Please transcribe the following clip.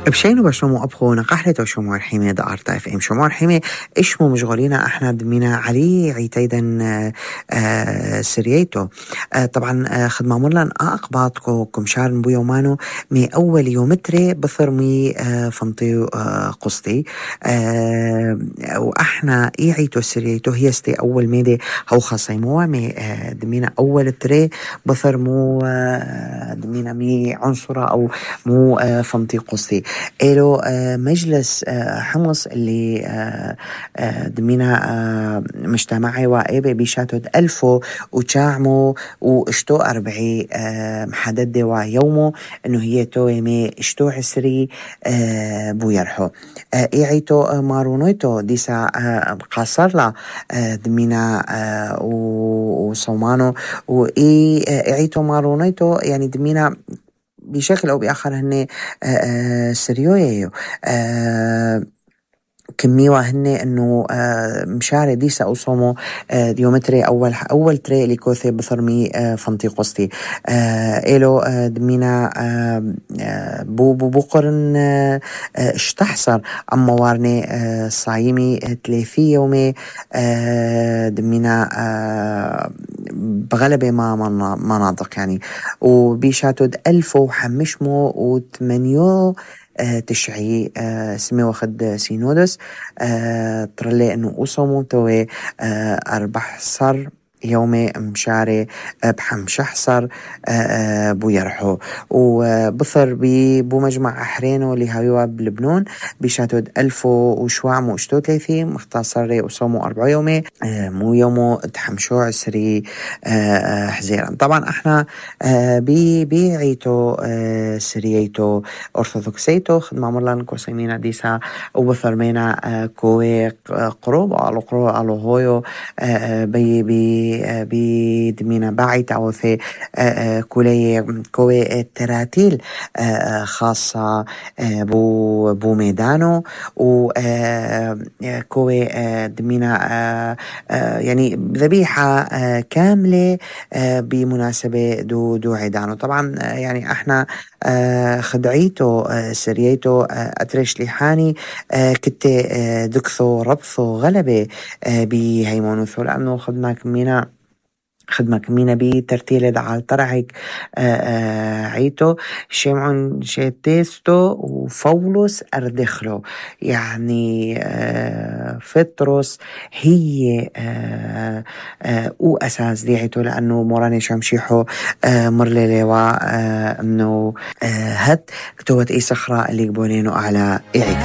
بشينو بشنو أبخو نقحلتو شو مرحيمة دا أرتا اف ام شو مرحيمة إشمو مشغولينا احنا دمينا علي عيتيدن سرييتو طبعا خدمة مرلن أقباطكو كمشارن بو يومانو مي أول يومتري بثر مي فمطي قسطي وإحنا عيتو سرييتو هي ستي أول ميدي هو خاصيموها مي دمينا أول تري بثر مو دمينا مي عنصرة أو مو فمطي قسطي إلو مجلس حمص اللي دمينا مجتمعي وإيبي بيشاتود ألفو وشاعمو واشتو أربعي محدد ويومو إنه هي توي مي اشتو عسري بو يرحو إيعيتو مارونويتو ديسا قاصر لا دمينا وصومانو وإيعيتو مارونويتو يعني دمينا بشكل أو بآخر هني سريويو كميوة هني انه مشاري ديسا اوصومو ديومتري اول تري اللي كوثي بثرمي فمطي قسطي إلو دمينا بو قرن اشتحصر اما وارني صايمي 3 يومي دمينا بغلبة ما مناطق يعني وبيشاتود 1000 وحمشمو وثمانيو تشعي سمي واخد سينودس ترلي انه اوصمو توي 14 يومي مشاري بحمشحصر بو يرحو وبثر بو مجمع أحرينو اللي هايوا بلبنان بيشاتود 1000 وشوعمو اشتو 3 مختصر وصومو 4 يومي مو يومو تحمشو عسري حزيرا طبعا احنا بيعيتو سرييتو أرثوذكسيتو خدمة مرلان كوسيمينا ديسا وبثر مينا كوي قروب على هويو بي دمينا باعت أو في كوي تراتيل خاصة بو ميدانو و كوي دمينا يعني ذبيحة كاملة بمناسبة دو عيدانو طبعا يعني احنا خدعيتو سرييتو أتريش لحاني كنت دكثو ربثو غلبة بهيمونوثو لأنه خدمة كمينا بترتيل على طرعك عيتو شمعون شيتيستو وفولوس أردخلو يعني فطرس هي أساس دي عيتو لأنه موراني شمشيحو مرلي انه هت كتوت اي صخرة اللي يقبونينو على عيتو